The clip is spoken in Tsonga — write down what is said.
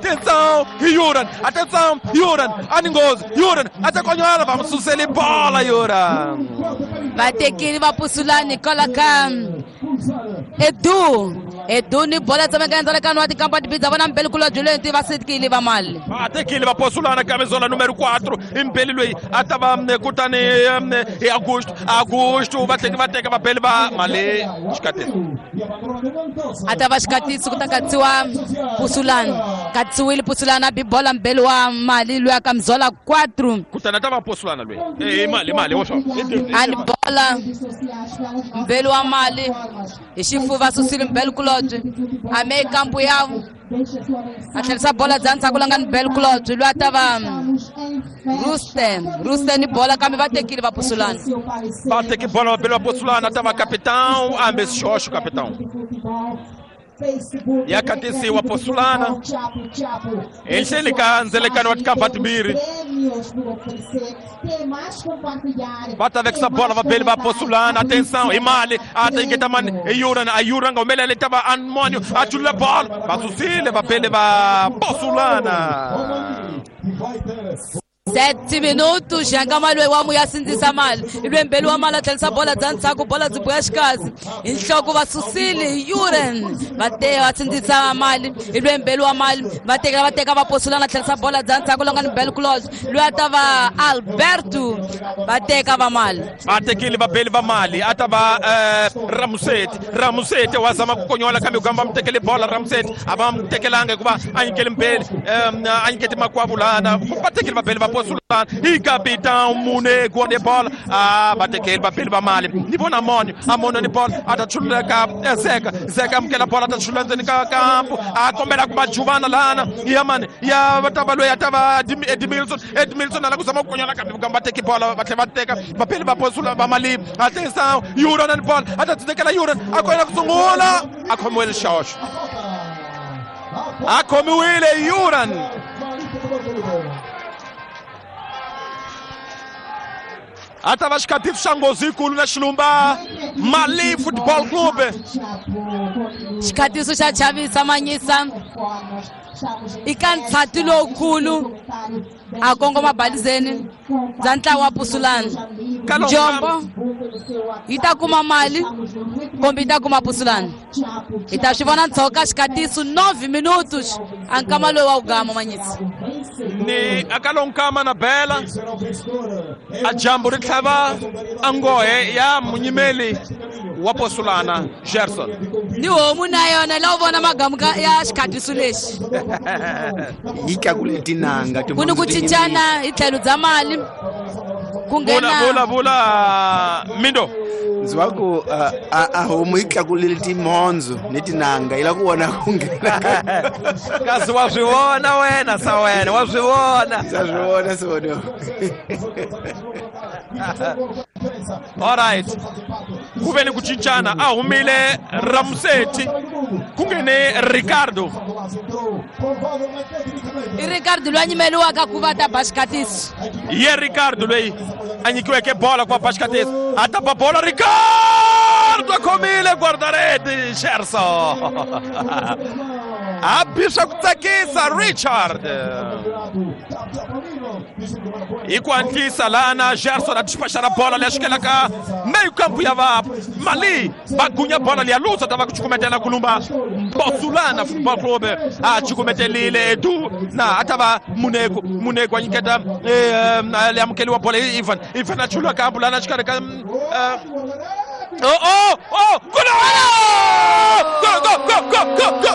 Atenção, Yuran, atenção, Yuran, a nghozi Yuran a ta konyola va mu suseli bola Yuran. Va tekile va Pusulani kwala ka Edu ni bola tsemeka ndzalekano wa tikampa tibidza vona mbeli kulobye loyi va sekile va mali. Va tekile va Posulana camisola número 4 mbeli loyi a ta va kutani hi Augusto va tlhela va teka vabeli va mali xikatiso. A ta va xikatiso ku ta katsiwa Pusulani, katsiwile Pusulani a bi bola mbeli wa mali loyi a camisola 4. Kutani a ta va Posulana loyi mali wo swa a ni bola mbeli wa mali hi xifuva susile mbeli kulobye a me kampu ya a tlherisa bola bya ndzhaku la nga ni beli kulobye loyi a ta va Rusten ni bola kambe va tekile va Pusulana. Va teki bola va beli va Pusulana a ta va capitão ambe xoxo capitão. Ya katisiwa Posulana enhleni ka ndzelekano wa tikampa timbirhi. Va ta vekisa bola va beli va Posulana. Atenção hi mali a ta nyiketa mani hi Yuran, a Yuran nga humelela ta va Anmonio a chulula bola va susile va beli va Posulana. 7 minutos xanga loyi wa muya sindzisa mali i mbeli wa mali a tlherisa bola bya ndzhaku bola byi buya xikazi hi nhloko va susile Yuran va te va sindzisa mali i mbeli wa mali va tekela va teka va Posulana tlherisa bola bya ndzhaku la nga ni beli kulobye loyi a ta va Alberto va teka va mali. Va tekile va beli va mali a ta va Ramuseti wa zama ku konyola kambe ku va mu tekele bola Ramuseti a va mu tekelanga hikuva a nyikele mbeli a nyikete makwavo lana va tekile va beli va Posulana i capitão Munego de bola a va tekele va beli va mali ni vona Amonio ni bola a ta chulula ka Zeka amukela bola a ta chulula ndzeni ka kampu a kombela ku va juvana lana ya mani ya va ta va loyi a ta va Edmilson a la ku zama ku konyola kambe va teki bola va tlhela va teka va beli va Posulana va mali. Atenção Yuran ni bola a ta tekela Yuran a koyela ku sungula a khomiwile xoxo a khomiwile Yuran. A ta va xikatiso xa nghozi yikulu na Xilumba Mali Football Club. Xikatiso xa chavisa manyisa i ka ntshati lowukulu a kongoma balizeni bya ntlawa wa Pusulana. Jombo yi ta kuma mali kumbe yi ta kuma Pusulana hi ta swi vona ntshoka xikatiso 9 minutos a nkama loyi wa ku gama manyisa ni akalonkama na bela a jambo ri tlhava a nghohe ya munyimeli wa Posulana Gerson ni homu na yona la u vona magamu ya xikatiso lexi yi tlakule tinanga ku ni ku cincana hi tlhelo bya mali ku nghena vula Mindo ndzi va ku a homu yi tlakulile timhondzo ni tinanga yi la ku vona ku nghena kasi wa swi vona wena sa wena wa swi vona sa swi vona sona. All right ku ve ni ku cincana a humile Ramuseti ku nghene Ricardo. I Ricardo loyi a nyimeliwaka ku va ta ba xikatiso. Ye Ricardo loyi a nyikiweke bola ku va ba xikatiso a ta ba bola Ricardo a khomile guardarete Gerson a bi swa ku tsakisa Richard hi ku hatlisa lana Gerson a dispachara bola leyi xikelaka meio campo ya va mali va gunya bola leya lusa ta va ku cukumetela kulumba Posulana Football Club a cukumetelile Edu na a ta va Munego a nyiketa le amukeliwa bola Ivan a chulula kampu lana xikarhi ka oh